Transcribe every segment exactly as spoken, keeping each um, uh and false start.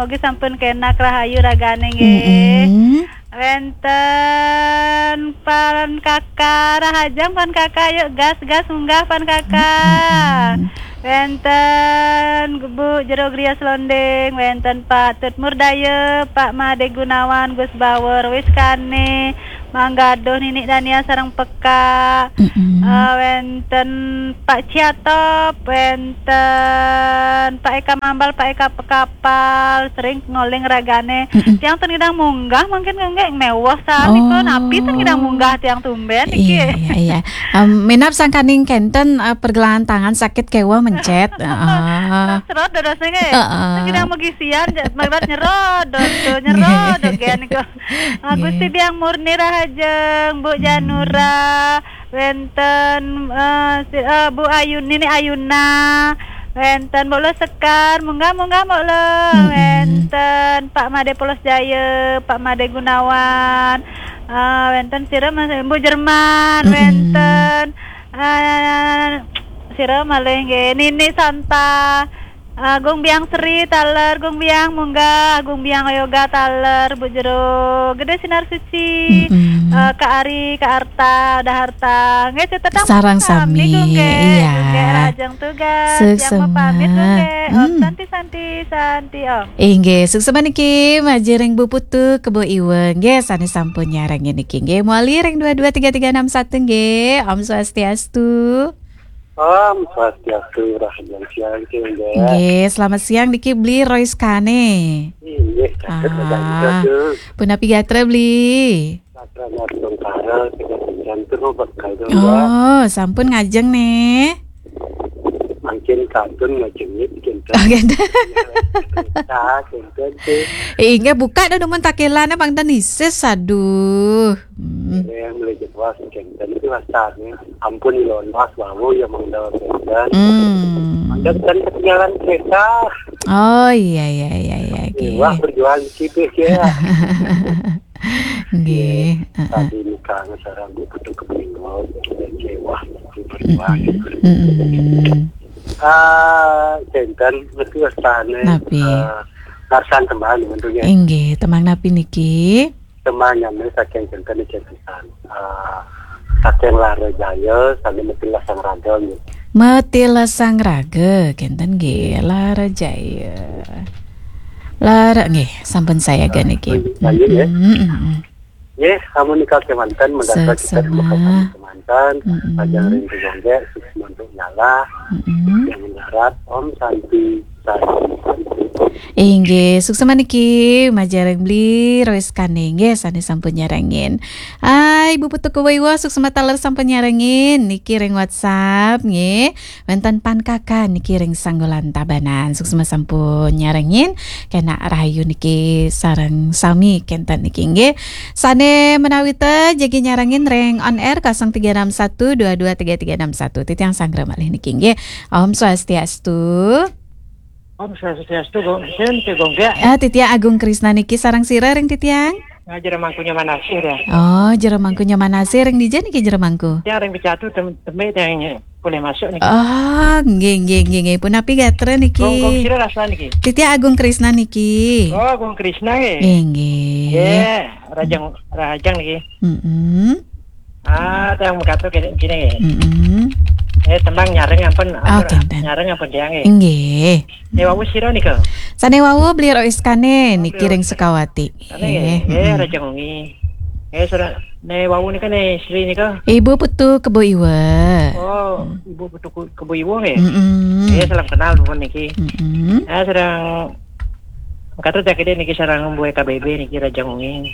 Mogi sampun kenak rahayu ragane nggih. Mm-mm. Wenten Pan Kaka, rahajeng Pan Kaka, yuk gas, gas munggah Pan Kaka. Mm-mm. Wenten Bu Jero Griya Selonding, wenten Pak Tut Murdaya, Pak Made Gunawan, Gus Bawor, Wiskane, Manggaduh, Nini Dania sareng Peka. Mm-mm. Eh, wenten Pak Ciatop, wenten Pak Eka Mambal, Pak Eka Pekapal, sering ngoling ragane. Mm-mm. Tiang ten ngidang munggah, mungkin nggih mewah sami. Oh. Kok napi ten ngidang munggah tiang tumben iki. Iya, iya, iya. Em, minab sangkaning kenten, eh, pergelangan tangan sakit kewah mencet. Heeh. Serot dados nggih. Heeh. Ten ngidang megisian, ja-, melibat nyerot, dos, nyerot, dogen niku. Ah, Gusti Biang Murni rahajeng, Bu Janura, wenten, eh, si-, eh, Bu Ayu, Nini Ayuna, wenten Mbok Lo Sekar, munggah, munggah Mbok Lo, wenten Pak Made Polos Jaya, Pak Made Gunawan, eh, wenten sira Mas, Bu Jerman, wenten, eh, sira malih nggih, Nini Santa, Agung Biang Sri taler, Gung Biang munggah, Agung Biang Yoga taler, Bu Jero Gede Sinar Suci, eh, Kak Ari, Kak Arta, Uda Harta. Nggih, cetedang sareng sami, Gung Ge. Iya. Gung Ge, rahajeng tugas. Yang mau pamit, Gung Ge. Om Santi, Santi, Santi, Om. Inggih, suksma niki majeng ring Bu Putu Kebo Iwa. Nggih, sane sampun nyarengin niki. Nggih, mawali ring dua dua tiga tiga enam satu nggih. Om Swastiastu. Om Swastiastu, rahajeng siang, Ki, nggih. Nggih, selamat siang niki Bli Rois Kane. Inggih, saged. Ah, punapi gatra, Bli? Gatra Natungkara, saged jantung bekal, nggih. Oh, sampun ngajeng nih. Mangkin kantun ngajeng nggih, kinten. Oh, kinten. Nah, kinten, Ki. Eh, inggih buka dah demen takelane Bang Danisis, aduh. Hmm. Yang mulai jelas, kinten itu rasanya. Ampun, ilon mas wau ya mangda kinten. Hmm. Mangda kinten ketinggalan kereta. Oh, iya, iya, iya, iya, oke. Wah, berjuang gitu ya. Nggih, heeh. Tadi nikah sareng Bu Putu Kebingo, kecewa, berjuang. Mm-mm. Mm-mm. Ah, kinten, mesti wastane, napi? Eh, ngarsan tembang, bentuknya. Inggih, tembang napi niki? Tembang nyambi saking kinten niki pisan. Ah, saking Lara Jaya, sami Metilasang Raga, nggih. Metilasang Raga, kinten nggih, Lara Jaya. Lara, nggih, sampun sayaga niki. Lanjut, ya. Mm-mm, mm-mm. Nggih, amun nika kemanten, mengganti kita di Mekah kemanten, mm-mm, panjang ring Gunung Jongge, sukses untuk nyala, mm-mm, yang mendarat, Om Santi, Santi, Santi. Inggih, suksma niki, majeng ring Bli Rois Kane, nggih, sane sampun nyarengin. Hai, Ibu Putu Kuwaiwa, suksma taler sampun nyarengin, niki ring WhatsApp, nggih. Wenten Pan Kaka niki ring Sanggolan Tabanan. Suksma sampun nyarengin. Kenak rahayu niki sareng sami kenten niki nggih. Sane menawi te jagi nyarengin ring on air kosong tiga enam satu dua dua tiga tiga enam satu. Titiang sanggra malih niki nggih. Om Swastiastu. Om Swastiastu, Gung. Sinten, Gung, ya? Ah, titiang Agung Krisna niki sareng sira ring titiang? Nah, Jero Mangku Nyoman Asih, ya. Oh, Jero Mangku Nyoman Asih, ring dija niki Jero Mangku? Yang ring Pecatu tem-, tembe yang boleh masuk niki. Oh, nggih, nggih, nggih, nggih. Punapi gatra niki? Gung, Gung sira rasna niki? Titiang Agung Krisna niki. Oh, Agung Krisna nggih. Nggih, nggih. Nggih, rahajeng, rahajeng niki. Mm-mm. Ah, tiang mekaten kene, kene. Mm-mm. Eh, tembang nyareng ampun, oh, ampun, kinten. Nyareng ampun tiang, eh. Inggih. Eh, wau sira nika? Sane wau Bli Rois Kane, oh, niki Bli ring Rois Kane. Sukawati. Kane, eh, eh, mm-mm. Rahajeng wengi. Eh, sira, ne wau nika ne Sri nika? Ibu Putu Kebo Iwa. Oh, mm. Ibu Putu Ke-, Kebo Iwa nggih? Mm-mm. Eh, salam kenal pun niki. Mm-mm. Eh, sareng Kata tak kene niki sareng Mbok K B B niki rahajeng wengi.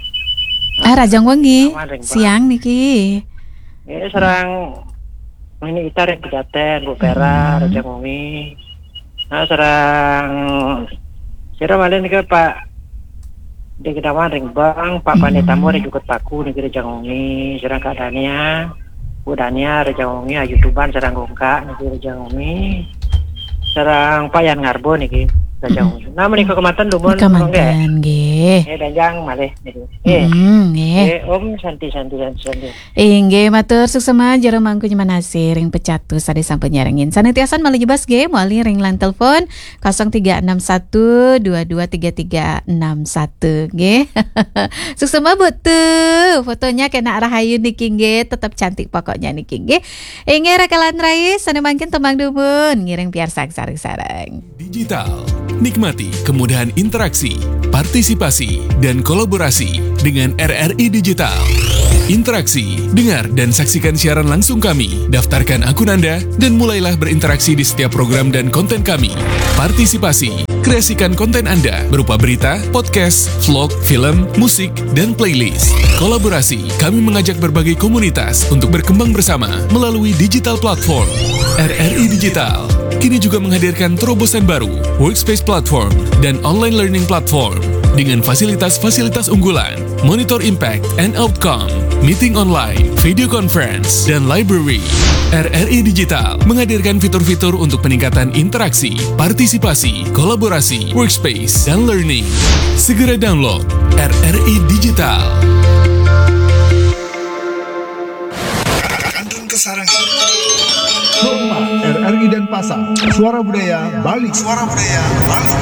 Ah, rahajeng wengi. Awan ring Bang. Siang niki. Eh, sareng Nini Ita ring Pejaten, Bu Pera, hmm, rahajeng wengi. Nah, sareng sira malih niki Pak Degedawan ring Bang, Pak Pandita hmm. Mo ring Jukut Paku niki rahajeng wengi. Sareng Kak Dania, Bu Dania rahajeng wengi, Ayu Tuban sareng Gongkak niki rahajeng wengi. Sareng Pak Yan Ngarbo niki. Danjang. Nah, menika kemanten dumun, Monggo. Kemanten, nggih. Eh, danjang malih niki. Nggih. Hmm, nggih. Nggih, Om Santi, Santi, Santi, Santi. Inggih, matur suksema jero mangku nyemanasi ring pecatus sane sampun nyarengin. Sane tiasan malih jebos nggih, mawali ring line telepon kosong tiga enam satu dua dua tiga tiga enam satu nggih. Suksema Bu Tu, fotonya kena rahayu niki nggih, tetep cantik pokoknya niki nggih. Inggih rakalan rai, sane mangkin tembang dumun, ngiring piarsang sareng-sareng. Digital. Nikmati kemudahan interaksi, partisipasi, dan kolaborasi dengan R R I Digital. Interaksi, dengar dan saksikan siaran langsung kami. Daftarkan akun Anda dan mulailah berinteraksi di setiap program dan konten kami. Partisipasi, kreasikan konten Anda berupa berita, podcast, vlog, film, musik, dan playlist. Kolaborasi, kami mengajak berbagai komunitas untuk berkembang bersama melalui digital platform. R R I Digital kini juga menghadirkan terobosan baru, Workspace Platform dan Online Learning Platform dengan fasilitas-fasilitas unggulan, monitor impact and outcome, meeting online, video conference, dan library. R R I Digital menghadirkan fitur-fitur untuk peningkatan interaksi, partisipasi, kolaborasi, workspace, dan learning. Segera download R R I Digital. Kantun Kesarengan. Homa, R R I Denpasar. Suara Budaya Bali. Suara Budaya Bali.